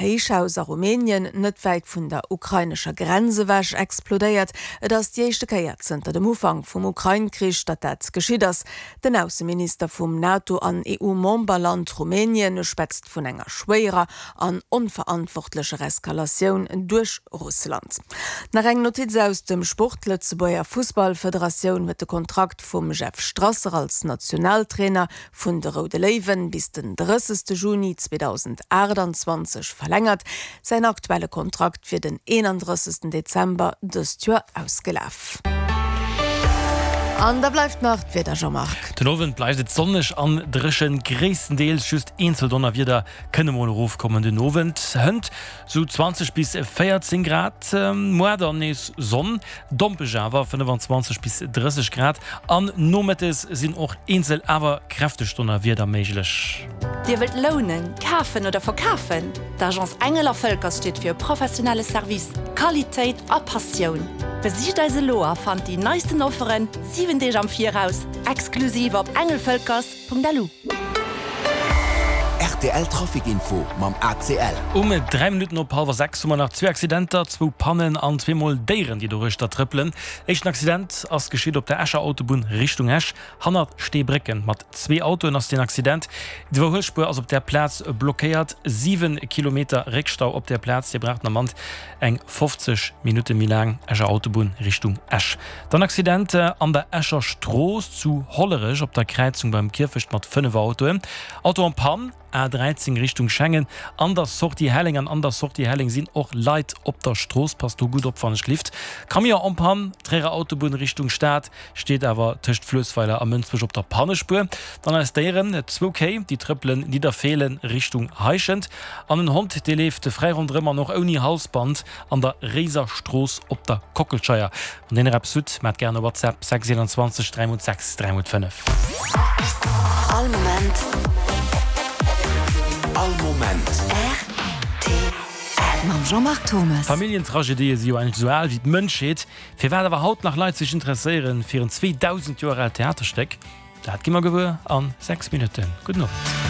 Héichhaus a Rumänien, net wäit vun der ukrainescher Grenz ewech, explodéiert. Et ass déi éischte Kéier zënter dem Ufank vum Ukrain-Krich, datt dat geschitt ass. Den Ausseminister vum NATO an EU-Memberland Rumänien schwätzt vun enger schwéierer an onverantwortlecher Eskalatioun duerch Russland. Nach eng Notiz aus dem Sport, D'Lëtzebuerger Fussballfederatioun huet de Kontrakt vum Jeff Strasser als Nationaltrainer vun de Roude Léiwen bis den 30 Juni 2028 verlängert. Säin aktuelle Kontrakt wier den 31 Dezember dëst Joer ausgelaf. An da bleift nach d'Wieder, Jean-Marc. Den Owend bleift et sonneg an dréchen, gréisstendeels. Just eenzel Donnerwieder kënne mol erofkommen. Den Owend hënt sou 20 bis 14 Grad, muar dann nees Sonn, Dompeg awer, 25 bis 30 Grad an nomëttes sinn och eenzel awer kräfteg Donnerwieder méiglech. Dir wëllt lounen, kafen oder verkafen? D'Agence Engel a Völkers steet fir e professionelle Service, Qualitéit a Passioun. Besicht eis elo a fannt déi neisten Offeren 7 Deeg am Viraus, exklusiv op engelvölkers. Lu. Rtl Trafic Info mam ACL. Um 3 Minutten op hallwer 6 hu mer nach zwee Accidenter, zwou Pannen an zweemol Déieren, déi doruechter trëppelen. Éischten Accident ass geschitt op der Escher Autobunn Richtung Esch, hannert Steebrécken. Mat zwee Autoen ass deen Accident. D'Iwwerhuelspuer ass op där Plaz blockéiert. 7 Kilometer Réckstau op där Plaz. Dir braucht den Ament Eng 50 Minutte méi laang Escher Autobunn Richtung Esch. Dann Accident an der Escher Strooss zu Hollerech op der Kräizung beim Kierfecht mat 5 Autoen. Auto en panne, A13 Richtung Schengen an der Sortie Helleng an an der Sortie Helleng sinn och Leit op der Strooss. Passt do gutt op wann ech lift. Camion en panne, Tréierer Autobunn Richtung Stad steet awer tëscht Fluessweiler a Mënsbech op der Pannespuer. Dann eis Déieren, zwou Kéi, déi trëppelen Nidderfeelen Richtung Heischent an en Hond, dee leeft fräi ronderëm an och ouni Halsband an der Réiser Strooss op der Kockelscheier. Wann dir nach eppes hutt, maacht gären e WhatsApp, 6 21 3 x 6 3 x 5. All Moment. All Moment. Rtl. Mam Jean-Marc Thommes. Familljentragedië si jo eigentlech esou al wéi d'Mënschheet. Firwat awer haut nach Leit sech interesséieren fir en 2000 Joer aalt Theaterstéck, dat gi mer gewuer an 6 Minutten. Gudden Owend.